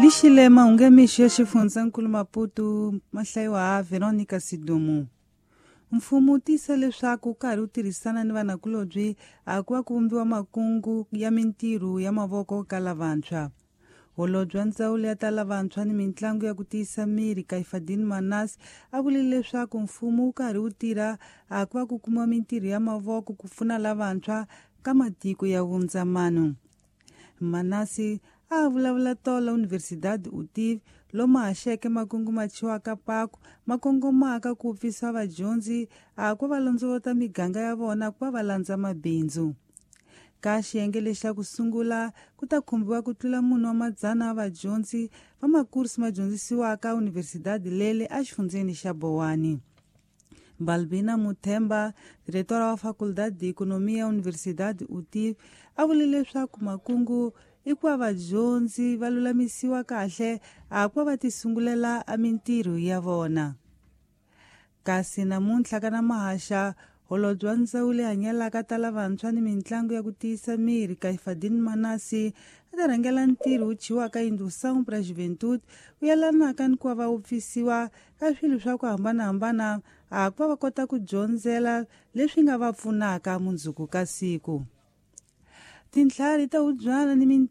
Lixile mahungu ya mixo ya xifundzankulu Maputo ma hlayiwa ha Veronica Sidumo. Mfumo wu tiyisa leswaku wu karhi wu tirhisana ni vanakulobye a ku va ku vumbiwa makungu ya mintirho ya mavoko ka lavantshwa. Holobye wa ndzawulo ya ta lavantshwa ni mitlangu ya ku tiyisa miri Kaifadin Manas a vule leswaku mfumo wu karhi wu tirha a ku va ku kumiwa mintirho ya mavoko ku pfuna lavantshwa ka matiko ya vundzamano. Manasi a vulavula tolo Universidade UTIV lomu haxeke makungu ma chiwaka paku ma kongomaka ku pfisa vadyondzi a ku va londzovota miganga ya vona ku va va landza mabindzu. Ka xiyenge lexa ku sungula ku ta khumbiwa ku tlula munhu wa madzana ya vadyondzi va makursi ma dyondzisiwaka Universidade lele exifundzeni xa Bowani. Balbina Muthemba, diretora wa Faculdade de Economia Universidade UTIV, a vule leswaku makungu i ku va vadyondzi va lulamisiwa kahle a ku va va tisungulela a mintirho ya vona. Kasi namuntlha ka na mahaxa holobye wa ndzawulo leyi hanyelaka ta lavantshwa ni mitlangu ya ku tiyisa miri Kaifadin Manasi a ta rhangela ntirho wu chiwaka Indução para a Juventude wu yelanaka ni ku va va wupfisiwa ka swilo swa ku hambanahambana a ku va va kota ku dyondzela leswi nga va pfunaka mundzuku ka siku. Tintlhari ta wubyana ni